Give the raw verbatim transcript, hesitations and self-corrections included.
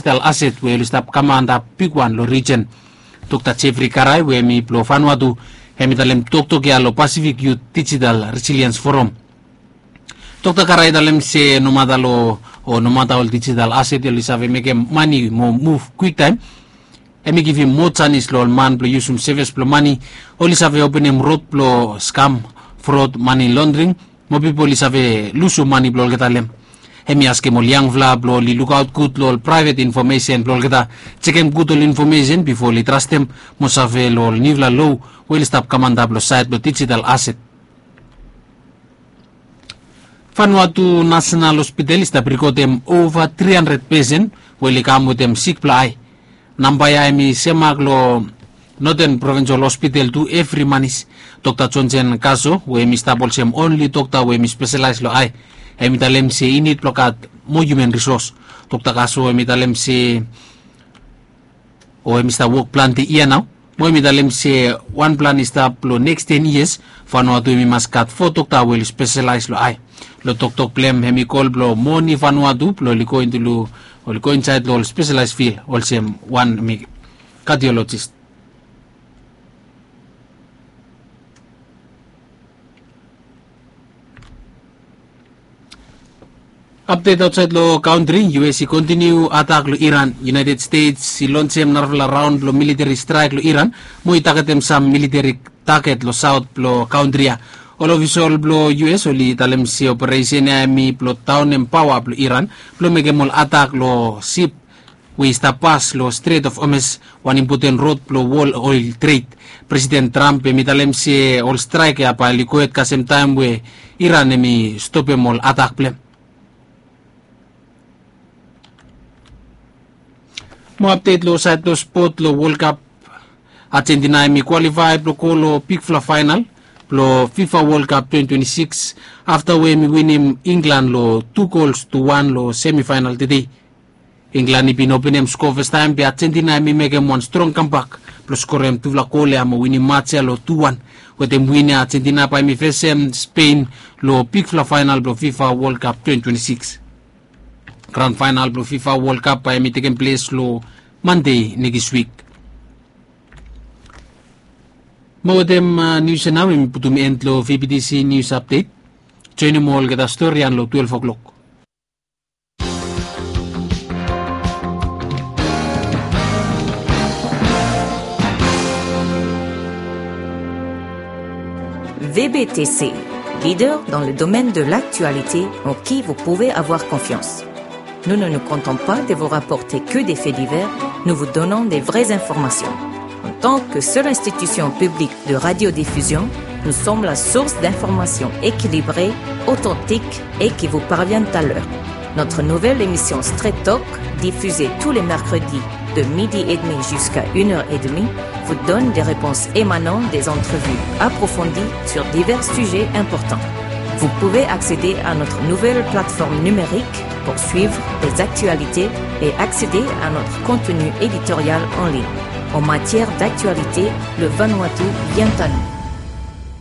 digital asset we oli stap kam antap bigwan long rijen. Dokta Jeffrey Karai we hemi blong Vanuatu, hemi talem toktok ya long Pacific Youth Digital Resilience Forum. Dokta Karai i talem se nomata long, o nomata ol digital asset oli save mekem mane mo muv kwiktaem, hemi givim moa janis long ol man blong yusum sevis blong mane. Oli save openem rod blong skam, frod, mane londring, mo pipol i save lusum mane blong olgeta long hem. Hemi askem ol yangfala blong oli lukaot gud long ol praevet infomesen blong olgeta. Jekem gud ol infomesen bifo oli trastem mo save long ol niufala loa we oli stap kam antap long saed blong digital asset. Vanuatu National Hospital i stap rikodem ova tri handred pesen we oli kam wetem sik blong ae. Namba ya hemi semak long Northern Provincial Hospital tu evri manis. Dokta Johnson Kaso we hemi stap olsem onli dokta we hemi speselaes long ae, hemi talem se i nid blong gat moa human risos. Dokta Kaso hemi talem se, o hemi stap wok plante yia nao. Mo hemi talem se wan plan i stap long neks ten yias, Vanuatu hemi mas gat fo dokta we oli speselaes long ae. Long toktok blong hem, hemi kol blong moni Vanuatu blong oli go insaed long ol speselaes fil olsem wan hemi kardiolojis. Apdet aotsaed long kantri, U S i kontiniu atak long Iran. United States i lonsem narafala raon blong militeri straek long Iran mo i tagetem sam militeri taget long saot blong kantri ya. Ol ofisol blong U S oli talem se operesen ya hemi blong daonem paoa blong Iran blong mekem ol atak long sip we i stap pas long Strait of Hormuz, wan impoten rod blong wol oel tred. Presiden Trump hemi talem se ol straek ya bae oli gohed kasem taem we Iran hemi stopem ol atak blong hem. Mo apdet long saed blong spot long World Cup. Argentina hemi kwalifae blong go long bigfala faenal blong FIFA World Cup twenty twenty-six afta we hemi winim Inglan long tu gols tu wan long semifaenal tede. Inglan i bin openem skoa fastaem, be Argentina hemi mekem wan strong kambak blong skorem tufala gol ya mo winim maj ya long tu wan. Wetem win ya, Argentina bae hemi fesem Spain long bigfala faenal blong FIFA World Cup twenty twenty-six. Gran faenal blong FIFA World Cup bae hemi tekem ples long Mande nekis wik. Mo wetem nius ya nao hemi putum en long V B T C News Update. Joenem olgeta stori ya long twelve o'clock. V B T C, leader dans le domaine de l'actualité en qui vous pouvez avoir confiance. Nous ne nous contentons pas de vous rapporter que des faits divers, nous vous donnons des vraies informations. En tant que seule institution publique de radiodiffusion, nous sommes la source d'informations équilibrées, authentiques et qui vous parviennent à l'heure. Notre nouvelle émission Straight Talk, diffusée tous les mercredis de midi et demi jusqu'à une heure et demie, vous donne des réponses émanant des entrevues approfondies sur divers sujets importants. Vous pouvez accéder à notre nouvelle plateforme numérique pour suivre les actualités et accéder à notre contenu éditorial en ligne. En matière d'actualité, le Vanuatu vient à nous.